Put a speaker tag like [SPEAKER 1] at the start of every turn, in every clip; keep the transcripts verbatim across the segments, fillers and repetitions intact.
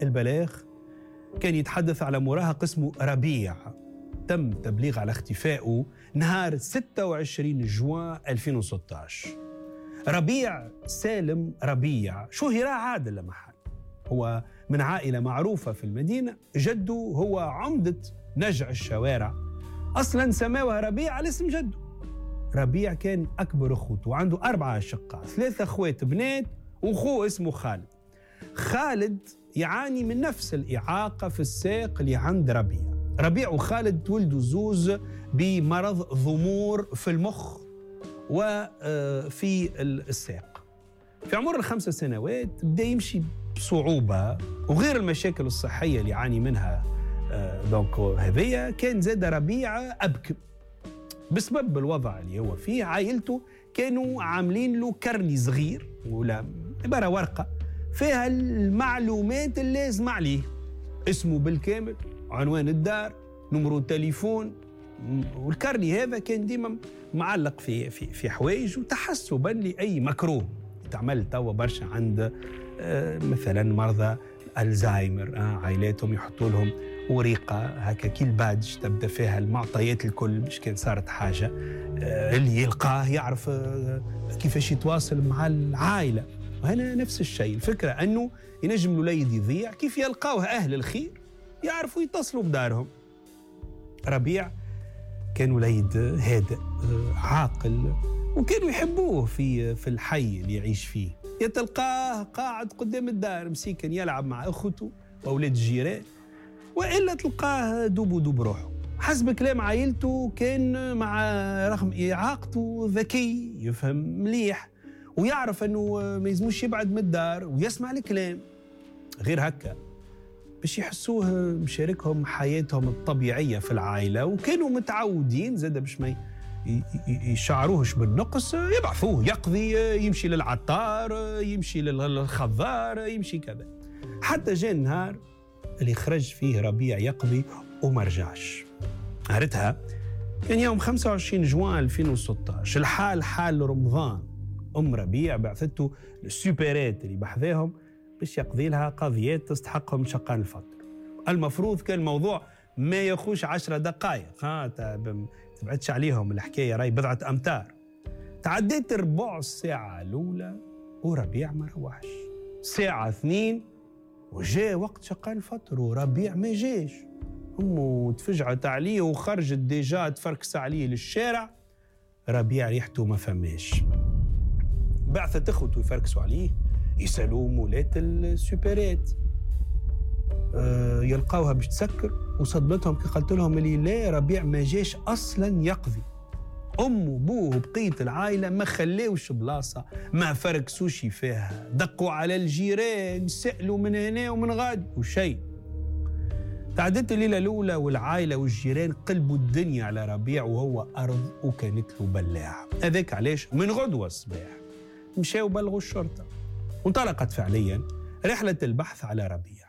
[SPEAKER 1] البلاغ كان يتحدث على مراهق اسمه ربيع، تم تبليغ على اختفائه نهار ستة وعشرين جوان ألفين وستة عشر. ربيع سالم ربيع شهر عادل لمحل، هو من عائلة معروفة في المدينة، جده هو عمدة نجع الشوارع، أصلا سماوها ربيع على اسم جده. ربيع كان أكبر أخوته وعنده أربعة أشقاء، ثلاثة أخوات بنات وأخوه اسمه خالد. خالد يعاني من نفس الإعاقة في الساق اللي عند ربيع. ربيع وخالد تولدوا زوز بمرض ضمور في المخ وفي الساق. في عمر الخمس سنوات بدأ يمشي بصعوبة، وغير المشاكل الصحية اللي يعاني منها donc هذية، كان زاد ربيع أبكم بسبب الوضع اللي هو فيه. عائلته كانوا عاملين له carnet صغير ولا عبارة ورقة فيها المعلومات اللازمة عليه، اسمه بالكامل، عنوان الدار، نمرو التليفون. وال carnet هذا كان ديما معلق في في في حوايج، وتحسبا لأي مكروه تعمل توا برشا عند مثلا مرضى الزهايمر، عائلاتهم يحطوا لهم وريقة هكا كي ال badge تبدا فيها المعطيات الكل باش كان صارت حاجة اللي يلقاه يعرف كيفاش يتواصل مع العائلة. وهنا نفس الشيء، الفكرة أنه ينجم الوليد يضيع، كيف يلقاوه أهل الخير يعرفوا يتصلوا بدارهم. ربيع كان وليد هادئ عاقل، وكانوا يحبوه في في الحي اللي يعيش فيه. يتلقاه قاعد قدام الدار مسيكن يلعب مع أخته وأولاد الجيران، وإلا تلقاه دوب ودوب روحه. حسب كلام عائلته كان مع رغم إعاقته ذكي، يفهم مليح ويعرف أنه ما يلزموش يبعد من الدار ويسمع الكلام. غير هكا باش يحسوه مشاركهم حياتهم الطبيعية في العائلة، وكانوا متعودين زاد باش ما يشعروهش بالنقص، يبعثوه يقضي، يمشي للعطار، يمشي للخضار، يمشي كذا. حتى جاء النهار اللي خرج فيه ربيع يقضي وما رجعش. نهارتها كان يوم خمسة وعشرين جوان ألفين وستة عشر، الحال حال رمضان. أم ربيع بعثته لل supérette اللي بحذاهم باش يقضي لها قضيات تستحقهم شقان الفطر. المفروض كان الموضوع ما يخوش عشرة دقائق، ها تبعدش عليهم الحكاية، راي بضعة أمتار. تعديت ربع ساعة الأولى وربيع ما روحش. ساعة اثنين وجاء وقت شقان الفطر وربيع ما جاش. أمه تفجعت عليه وخرجت déjà تفركس عليه للشارع. ربيع ريحته ما فماش. بعثت اخوته يفركسوا عليه، يسألوا مولات ال supérette، أه يلقاوها باش تسكر. وصدمتهم كي قالت لهم اللي لا، ربيع ما جاش أصلا يقضي. أم وبوه وبقية العائلة ما خلاوش بلاصة، ما فركسوش فيها، دقوا على الجيران، سألوا من هنا ومن غاد وشيء. تعدت الليلة الأولى والعائلة والجيران قلبوا الدنيا على ربيع وهو أرض وكانت له بلاعة. هذاك علاش من غدوة الصباح مشاو بلغوا الشرطة، وانطلقت فعليا رحلة البحث على ربيع.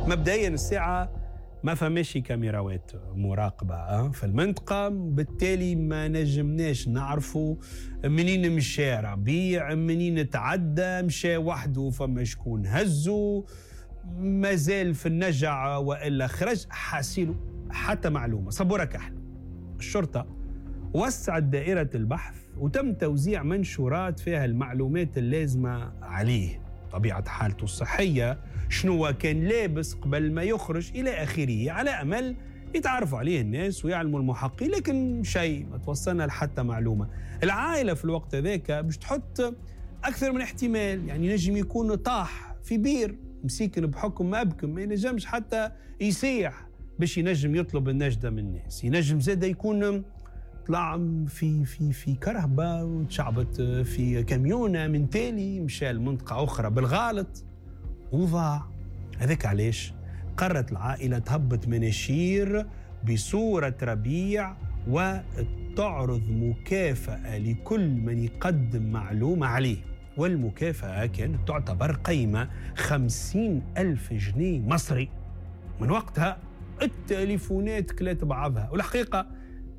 [SPEAKER 1] مبدئيا الساعة ما فماش كاميراوات مراقبة في المنطقة، بالتالي ما نجمناش نعرفوا منين مشى ربيع، منين تعدى، مشى وحده فما شكون هزو، مازال في النجع وإلا خرج، حاسيله حتى معلومة. صبورة كحل. الشرطة وسعت دائرة البحث وتم توزيع منشورات فيها المعلومات اللازمة عليه، طبيعة حالته الصحية، شنو كان لابس قبل ما يخرج إلى آخره، على أمل يتعرفوا عليه الناس ويعلموا المحقق. لكن شيء ما توصلنا لحتى معلومة. العائلة في الوقت ذاك باش تحط أكثر من احتمال، يعني نجم يكون طاح في بير مسيكن بحكم أبكم، ما ينجمش حتى يسيح باش ينجم يطلب النجدة من الناس. ينجم زاد يكون طلع في في في كرهبة وتشعبت في كاميونة من تالي، مشى لمنطقة أخرى بالغلط وضاع. هذاك علاش قررت العائلة تهبط مناشير بصورة ربيع وتعرض مكافأة لكل من يقدم معلومة عليه، والمكافأة كانت تعتبر قيمة خمسين ألف جنيه مصري. من وقتها التليفونات كلات بعضها، والحقيقة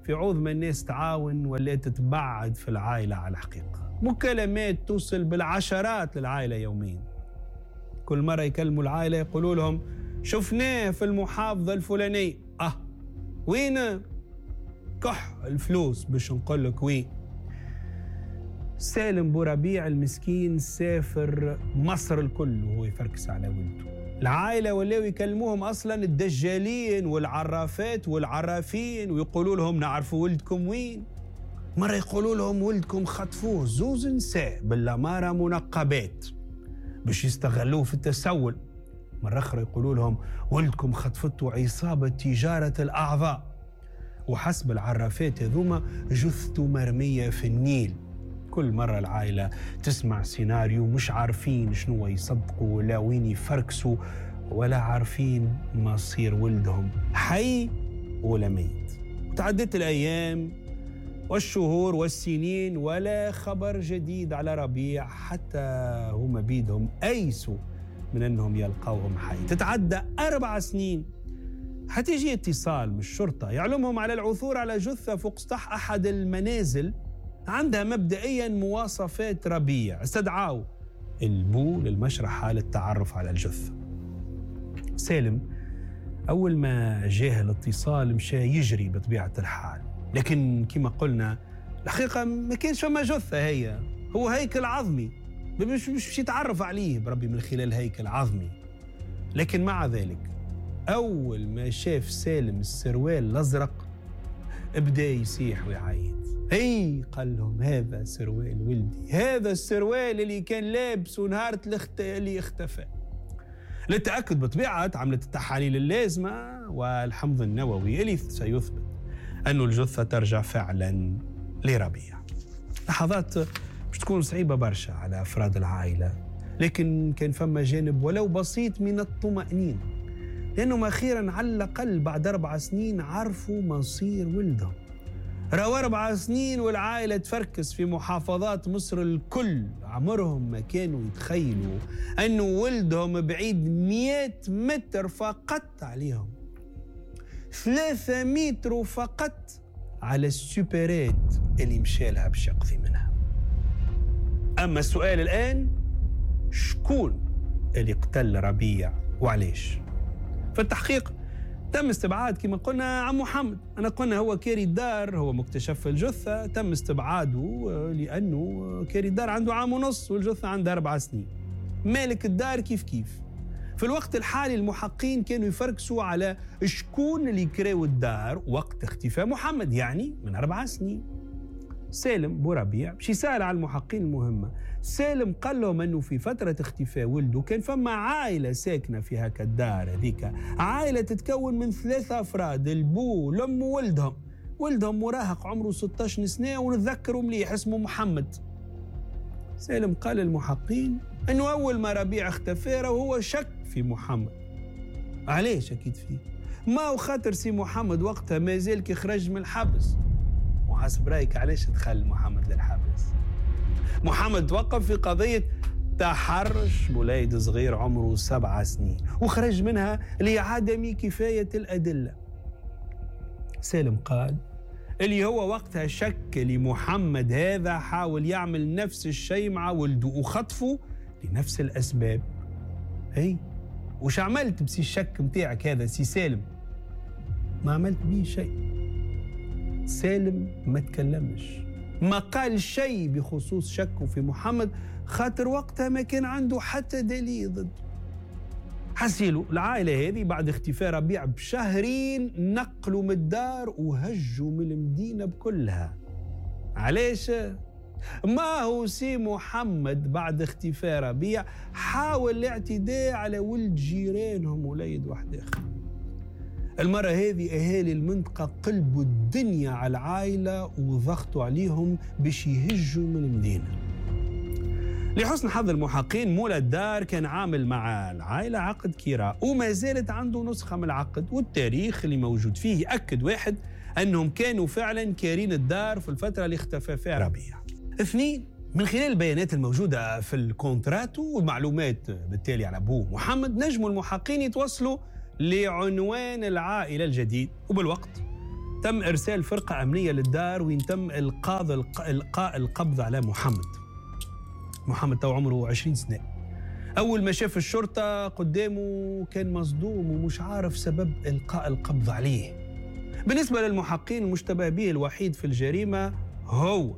[SPEAKER 1] في عوض ما الناس تعاون ولا تتبعد في العائلة على الحقيقة. مكالمات توصل بالعشرات للعائلة يوميا. كل مرة يكلموا العائلة يقولوا لهم شفناه في المحافظة الفلانية. أه وين؟ كح الفلوس باش نقول لك وين. سالم بوربيع المسكين سافر مصر الكل وهو يفركس على ولده. العائلة ولاو يكلموهم أصلا الدجالين والعرافات والعرافين ويقولوا لهم نعرفوا ولدكم وين. مرة يقولوا لهم ولدكم خطفوه زوز نساء بالأمارة منقبات باش يستغلوه في التسول. مرة أخرى يقولوا لهم ولدكم خطفته عصابة تجارة الأعضاء، وحسب العرافات هذوما جثته مرمية في النيل. كل مرة العائلة تسمع سيناريو مش عارفين شنو يصدقوا ولا وين يفركسوا ولا عارفين مصير ولدهم حي ولا ميت. وتعدت الأيام والشهور والسنين ولا خبر جديد على ربيع، حتى هما بيدهم أيسوا من أنهم يلقوهم حي. تتعدى أربع سنين حتيجي اتصال من الشرطة يعلمهم على العثور على جثة فوق سطح أحد المنازل عندها مبدئيا مواصفات ربيع. استدعاوا البو للمشرحة للتعرف على الجثة. سالم أول ما جاه الاتصال مشى يجري بطبيعة الحال، لكن كما قلنا الحقيقة ما كانش فما جثة، هي هو هيكل عظمي مش مش يتعرف عليه بربي من خلال هيكل عظمي. لكن مع ذلك أول ما شاف سالم السروال الأزرق بدأ يصيح ويعيط. اي قال لهم هذا سروال ولدي، هذا السروال اللي كان لابسه نهار اللي اختفى. للتأكد بطبيعة عملت التحاليل اللازمة والحمض النووي اللي سيثبت أن الجثة ترجع فعلا لربيع. لحظات مش تكون صعيبة برشا على أفراد العائلة، لكن كان فما جانب ولو بسيط من الطمأنينة، لأنهم أخيرا على الأقل بعد أربع سنين عرفوا مصير ولدهم. راهو أربع سنين والعائلة تفركس في محافظات مصر الكل، عمرهم ما كانوا يتخيلوا أنه ولدهم بعيد مئة متر فقط عليهم، ثلاثة متر فقط على السوبرات اللي مشالها باش يقضي منها. أما السؤال الآن، شكون اللي قتل ربيع وعليش؟ في التحقيق تم استبعاد كما قلنا عم محمد. أنا قلنا هو كاري الدار، هو مكتشف الجثة، تم استبعاده لأنه كاري الدار عنده عام ونص والجثة عندها أربع سنين. مالك الدار كيف كيف. في الوقت الحالي المحقين كانوا يفركسوا على شكون اللي كراو الدار وقت اختفاء محمد، يعني من أربع سنين. سالم بوربيع باش يسأل على المحقين المهمة. سالم قال لهم أنه في فترة اختفاء ولده كان فما عائلة ساكنة في هكا الدار هذيك، عائلة تتكون من ثلاثة أفراد، البو والأم وولدهم. ولدهم مراهق عمره ستة عشر سنة ونتذكره مليح اسمه محمد. سالم قال للمحقين أنه أول ما ربيع اختفى وهو شك في محمد. علاش شكيت فيه؟ ما هو خاطر سي محمد وقتها ما زال كي خرج من الحبس. وحسب رأيك علاش دخل محمد للحبس؟ محمد توقف في قضية تحرش بوليد صغير عمره سبع سنين وخرج منها لعدم كفاية الأدلة. سالم قال اللي هو وقتها شك لمحمد هذا حاول يعمل نفس الشيء مع ولده وخطفه لنفس الأسباب. هي وش عملت بسي الشك متاعك هذا سي سالم؟ ما عملت بيه شيء. سالم ما تكلمش، ما قال شيء بخصوص شكه في محمد، خاطر وقتها ما كان عنده حتى دليل ضده. حسيلو العائلة هذه بعد اختفاء ربيع بشهرين نقلوا من الدار وهجوا من المدينة بكلها. علاش؟ ما هو سي محمد بعد اختفاء ربيع حاول الاعتداء على ولد جيرانهم وليد واحد آخر. المرة هذه أهالي المنطقة قلبوا الدنيا على العائلة وضغطوا عليهم باش يهجوا من المدينة. لحسن حظ المحقين مولى الدار كان عامل مع العائلة عقد كراء وما زالت عنده نسخة من العقد، والتاريخ اللي موجود فيه يأكد واحد أنهم كانوا فعلا كارين الدار في الفترة اللي اختفى فيها ربيع. اثنين، من خلال البيانات الموجودة في الكونتراتو والمعلومات بالتالي على أبوه محمد، نجموا المحقين يتوصلوا لعنوان العائلة الجديد. وبالوقت تم إرسال فرقة أمنية للدار وين تم إلقاء إلقاء القبض على محمد. محمد تو عمره عشرين سنة. أول ما شاف الشرطة قدامه كان مصدوم ومش عارف سبب إلقاء القبض عليه. بالنسبة للمحقين المشتبه به الوحيد في الجريمة هو،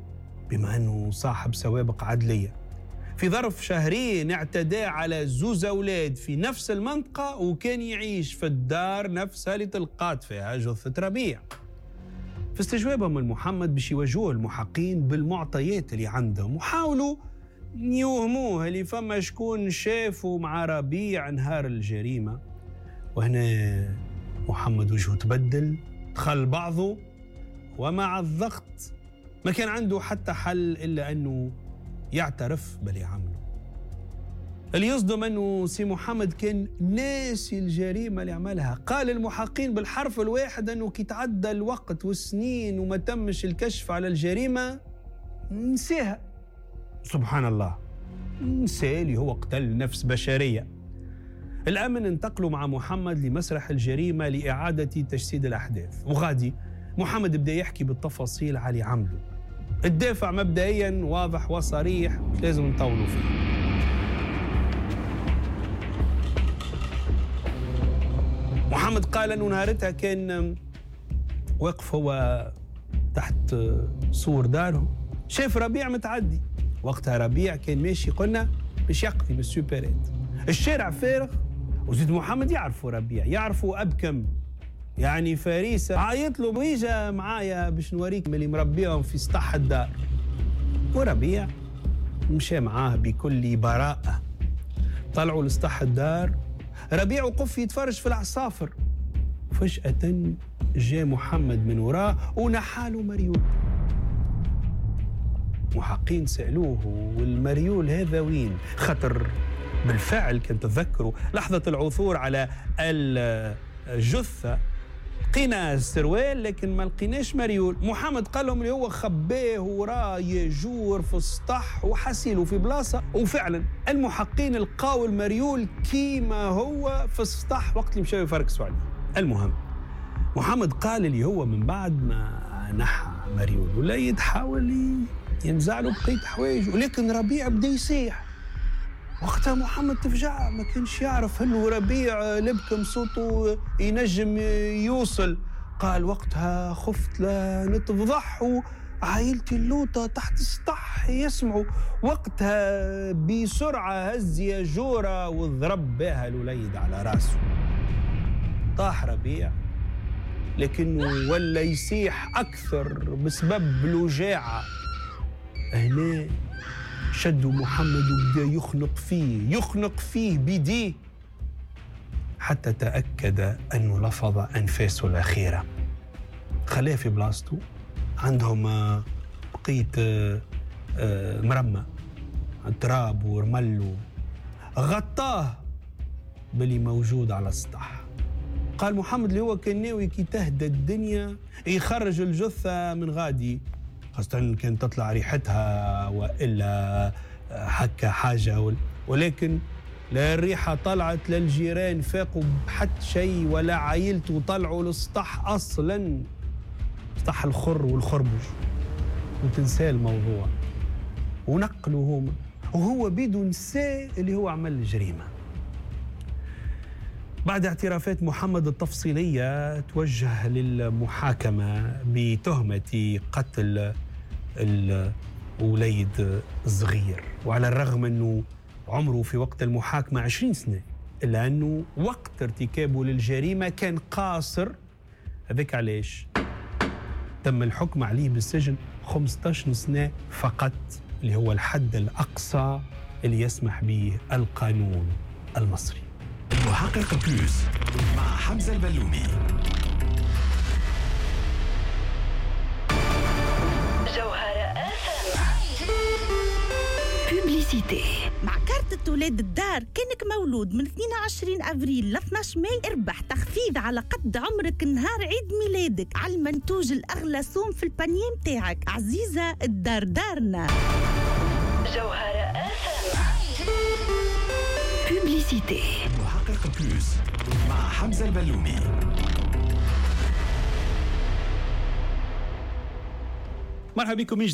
[SPEAKER 1] بما أنه صاحب سوابق عدلية. في ظرف شهرين اعتدى على زوز أولاد في نفس المنطقة، وكان يعيش في الدار نفسها اللي تلقات فيها جثة ربيع. في استجوابهم لمحمد باش يواجهوه المحقين بالمعطيات اللي عندهم، وحاولوا يوهموه اللي فما شكون شافوا مع ربيع نهار الجريمة. وهنا محمد وجهه تبدل، دخل بعضه، ومع الضغط ما كان عنده حتى حل إلا أنه يعترف باللي عمله. اللي يصدم أنه سي محمد كان ناسي الجريمة اللي عملها. قال المحقين بالحرف الواحد أنه كي تعدى الوقت والسنين وما تمش الكشف على الجريمة نسيها. سبحان الله، نسى اللي هو قتل نفس بشرية. الأمن انتقلوا مع محمد لمسرح الجريمة لإعادة تجسيد الأحداث، وغادي محمد بدأ يحكي بالتفاصيل على اللي عمله. الدافع مبدئيا واضح وصريح، مش لازم نطولوا فيه. محمد قال أنه نهارتها كان واقف هو تحت سور داره، شاف ربيع متعدي. وقتها ربيع كان ماشي قلنا باش يقضي بال supérette، الشارع فارغ، وزيد محمد يعرفوا ربيع، يعرفوا أبكم يعني فريسة. عيط له ويجا معايا باش نوريك اللي مربيهم في سطح الدار. وربيع مشى معاه بكل براءة. طلعوا لسطح الدار، ربيع وقف يتفرج في العصافر. فجأة جاء محمد من وراه ونحاله مريول. محقين سألوه والمريول هذا وين؟ خطر بالفعل كان تذكروا لحظة العثور على الجثة لقينا السروال لكن ما لقيناش مريول. محمد قال لهم اللي هو خباه وراه يجور في السطح وحسيله في بلاصة، وفعلا المحقين لقاو المريول كيما هو في السطح وقت اللي مشاو يفركسوا عليه. المهم محمد قال اللي هو من بعد ما نحى مريول ولا يتحاول ينزع له بقية حوايجه، ولكن ربيع بدا يصيح. وقتها محمد تفجع، ما كانش يعرف انه ربيع لبكم صوته ينجم يوصل. قال وقتها خفت لا نتفضح وعائلتي اللوطة تحت السطح يسمعوا. وقتها بسرعة هز ياجورة وضرب بها الوليد على راسه. طاح ربيع لكنه ولا يسيح أكثر بسبب الوجاعة. هنا شدوا محمد وبدا يخنق فيه يخنق فيه بيديه حتى تأكد أنه لفظ أنفاسه الأخيرة. خلاه في بلاصته، عندهم بقية مرمى تراب ورمل، غطاه باللي موجود على السطح. قال محمد اللي هو كان ناوي كي تهدى الدنيا يخرج الجثة من غادي، خاصة كان تطلع ريحتها وإلا حكى حاجة، ولكن لا الريحة طلعت لا الجيران فاقوا بحد شيء ولا عائلته طلعوا للسطح أصلا، سطح الخر والخربج، وتنسى الموضوع ونقلوا هما، وهو بيدو نسى اللي هو عمل الجريمة. بعد اعترافات محمد التفصيلية توجه للمحاكمة بتهمة قتل الوليد الصغير، وعلى الرغم أنه عمره في وقت المحاكمة عشرين سنة، إلا أنه وقت ارتكابه للجريمة كان قاصر. هذاك علاش تم الحكم عليه بالسجن خمسة عشر سنة فقط، اللي هو الحد الأقصى اللي يسمح به القانون المصري.
[SPEAKER 2] المحقق Plus مع حمزة البلومي.
[SPEAKER 3] جوهرة publicité.
[SPEAKER 4] مع كارت ولاد الدار كانك مولود من اثنين وعشرين أفريل ل اثناش ماي اربح تخفيض على قد عمرك نهار عيد ميلادك على المنتوج الأغلى سوم في ال panier متاعك. عزيزة الدار دارنا.
[SPEAKER 3] جوهرة publicité.
[SPEAKER 2] المحقق Plus مع حمزة البلومي.
[SPEAKER 5] مرحبا بكم من جديد.